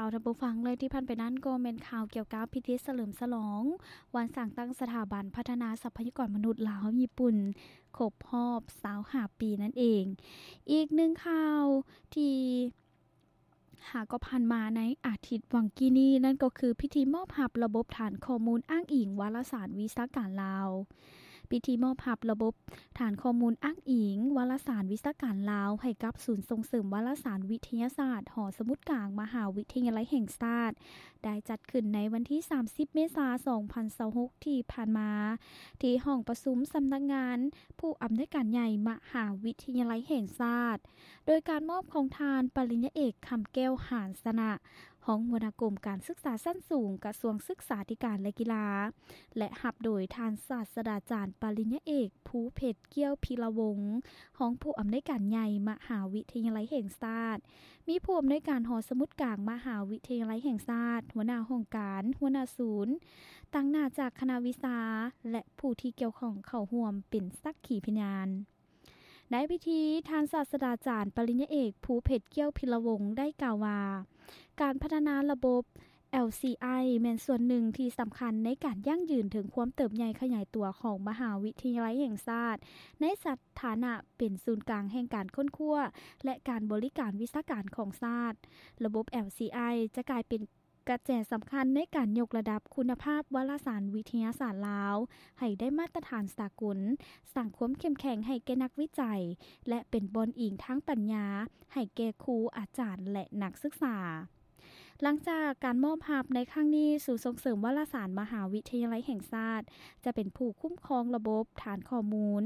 ເອົາ ທ່ານຜູ້ຟັງ ແລະ ທີ່ຜ່ານໄປນັ້ນກໍແມ່ນຂ່າວກ່ຽວກັບພິທີສະເຫຼີມສະຫຼອງວັນສ້າງຕັ້ງສະຖາບັນພັດທະນາຊັບພະຍາກອນມະນຸດລາວ-ຍີ່ປຸ່ນ ຄົບຮອບຊາວຫ້າປີນັ້ນເອງ. ອີກໜຶ່ງຂ່າວທີ່ຫາກໍຜ່ານມາໃນອາທິດຫວ່າງກີ້ນີ້ ນັ້ນກໍຄືພິທີມອບຮັບລະບົບຖານຂໍ້ມູນອ້າງອີງວາລະສານວິຊາການລາວ. ພິທີມອບຮັບລະບົບຖານຂໍ້ມູນອ້າງອີງວາລະສານວິຊາການລາວ ໃຫ້ກັບສູນສົ່ງເສີມວາລະສານວິທະຍາສາດ ຫໍສະໝຸດກາງ ມະຫາວິທະຍາໄລແຫ່ງຊາດ ໄດ້ຈັດຂຶ້ນໃນວັນທີສາມສິບ ເມສາ ສອງພັນຊາວຫົກ ທີ່ຜ່ານມາ ທີ່ຫ້ອງປະຊຸມສຳນັກງານຜູ້ອຳນວຍການໃຫຍ່ມະຫາວິທະຍາໄລແຫ່ງຊາດ ໂດຍການມອບຂອງທ່ານປະລິນຍາເອກ ຄຳແກ້ວ ຫານຊະນະ ຮອງຫົວໜ້າກົມການສຶກສາຊັ້ນສູງ ກະຊວງສຶກສາທິການ ແລະ ກິລາ ແລະ ຮັບໂດຍທ່ານສາດສະດາຈານປະລິນຍາເອກ ພູເພັດ ກ້ຽວພິລະວົງ ຮອງຜູ້ອຳນວຍການໃຫຍ່ມະຫາວິທະຍາໄລແຫ່ງຊາດ, ມີຜູ້ອຳນວຍການຫໍສະໝຸດກາງມະຫາວິທະຍາໄລແຫ່ງຊາດ, ຫົວໜ້າຫ້ອງການ, ຫົວໜ້າສູນ, ຕາງໜ້າຈາກຄະນະວິຊາ ແລະ ຜູ້ທີ່ກ່ຽວຂ້ອງເຂົ້າຮ່ວມເປັນສັກຂີພະຍານ. ໃນພິທີ, ທ່ານສາດສະດາຈານປະລິນຍາເອກ ພູເພັດ ກ້ຽວພິລະວົງ ໄດ້ກ່າວວ່າ ການພັດທະນາລະບົບ ແອລຊີໄອ ແມ່ນສ່ວນໜຶ່ງທີ່ສຳຄັນໃນການຢັ້ງຢືນເຖິງຄວາມເຕີບໃຫຍ່ຂະຫຍາຍຕົວຂອງມະຫາວິທະຍາໄລແຫ່ງຊາດ ໃນສະຖານະເປັນສູນກາງແຫ່ງການຄົ້ນຄວ້າ ແລະ ການບໍລິການວິຊາການຂອງຊາດ. ລະບົບ ແອລຊີໄອ ຈະກາຍເປັນ ກະແສສຳຄັນໃນການຍົກລະດັບຄຸນນະພາບວາລະສານວິທະຍາສາດລາວໃຫ້ໄດ້ມາດຕະຖານສາກົນ, ສ້າງຄວາມເຂັ້ມແຂງໃຫ້ແກ່ນັກວິໄຈ ແລະ ເປັນບ່ອນອີງທາງປັນຍາໃຫ້ແກ່ຄູ, ອາຈານ ແລະ ນັກສຶກສາ. ຫຼັງຈາກການມອບຮັບໃນຄັ້ງນີ້, ສູນສົ່ງເສີມວາລະສານມະຫາວິທະຍາໄລແຫ່ງຊາດ ຈະເປັນຜູ້ຄຸ້ມຄອງລະບົບຖານຂໍ້ມູນ,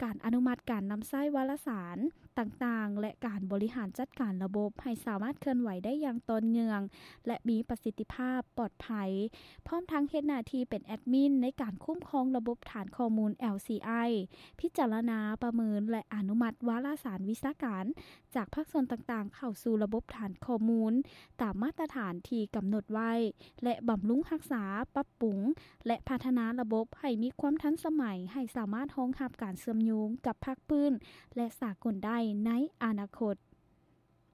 ການອະນຸມັດການນຳໃຊ້ວາລະສານ ຕ່າງໆ ແລະ ການບໍລິຫານຈັດການລະບົບໃຫ້ສາມາດເຄື່ອນໄຫວໄດ້ຢ່າງຕໍ່ເນື່ອງ ແລະ ມີປະສິດທິພາບ, ປອດໄພ, ພ້ອມທັງເຮັດໜ້າທີ່ເປັນແອດມິນໃນການຄຸ້ມຄອງລະບົບຖານຂໍ້ມູນ ແອລຊີໄອ, ພິຈາລະນາ, ປະເມີນ ແລະ ອະນຸມັດວາລະສານວິຊາການຈາກພາກສ່ວນຕ່າງໆ ເຂົ້າສູ່ລະບົບຖານຂໍ້ມູນຕາມມາດຕະຖານທີ່ກຳນົດໄວ້ ແລະ ບຳລຸງຮັກສາ, ປັບປຸງ ແລະ ພັດທະນາລະບົບໃຫ້ມີຄວາມທັນສະໄໝ, ໃຫ້ສາມາດຮອງຮັບການເຊື່ອມໂຍງກັບພາກພື້ນ ແລະ ສາກົນໄດ້ໃນອະນາຄົດ.